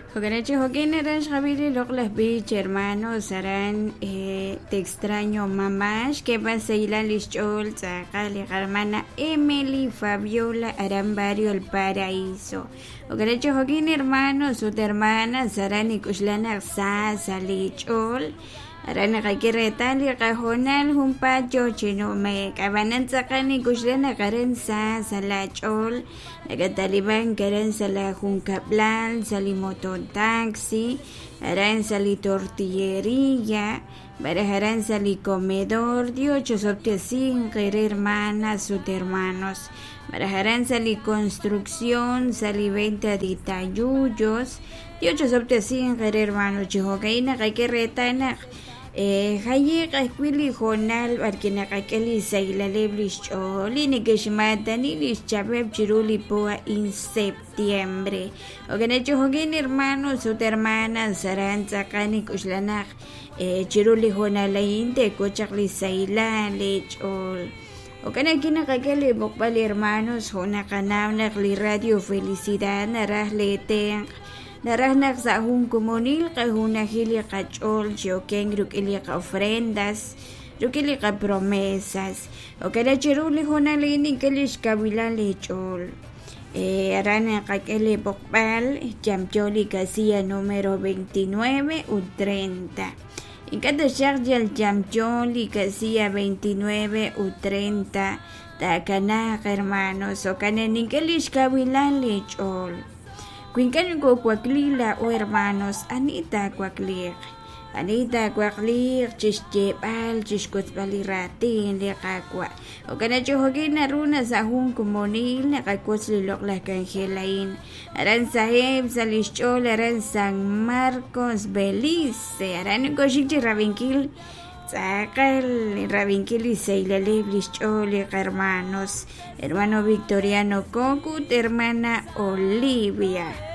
Jo'kan chi jo'kin aran xqab'i li loq'laj b'ich hermanos aran Te extraño mamá xk'eeb'al xsahilal li xch'ool tz'aqal li qahermana Emily Fabiola aran barrio El Paraíso. Jo'kan chi jo'kin hermanos ut hermanas aran nik'uxla naq sa sa' li ch'ool aran naqak'e reetal li qahoonal junpaat yoo chi nume'k ab'anan tz'aqal nik'uxla naq aran sa sa' la ch'ool Nakat'alib'ank aran sa' laajunkab'lal, sa' li mototaxi, aran sa' li tortilleria, malaj aran sa' li comedor. Dios chosob'tesinq eere hermanas ut hermanos. Malaj aran sa' li construcción, sa' li venta de tayuyos. Dios chosob'tesinq eere hermanos. Chi jo'ka'in naqak'e reetal naq Jaye'q ajwi' li hoonal b'arwi' naqak'e li xsahilaleb' li xch'ool li neke'xmaatani li xchab'eb' chiru li po a'in septiembre. Jo'kan chi jo'kin hermanos ut hermanas aran tz'aqal nink'oxla naq chiru li hoonal a'in teek'ul chaq li sahilal leech'ool. Jo'kan ajwi' naqak'e li b'oqb'al hermanos jo' naqanaw naq li Radio Felicidad naraj leetenq' Naraj naq sa' jun komonil qajunajil li qach'ool chi okenk rik'in li qa'ofrendas, rik'in li qapromesas. Jo'kan naq chiru li hoonal a'in nink'e lix kawilal eech'ool. Aran naqak'e li b'oqb'al yamyo li casilla numero 29 ut 30. Ink'a' taxaq yal yamyo li casilla 29 ut 30 taakanaaq, hermanos. Jo'kan naq nink'e lix kawilal eech'ool. Wi ink'a' nokoowakliik laa'o hermanos, ani taawakliiq? Ani taawakliiq chi xyeeb'al, chi xwotzb'al li raatin li Qaawa'? Jo'kan naq chi jo'kin naru naq sa' jun komonil naqawotz li loq'laj k'anjel a'in. Aran saheb' sa' li xch'ool aran San Marcos, Belice. Aran nokooxik chi rab'inkil Tz'aqal rab'inkil li xsahilaleb' li xch'ool li qahermanos, hermano Victoriano Coc ut hermana Olivia.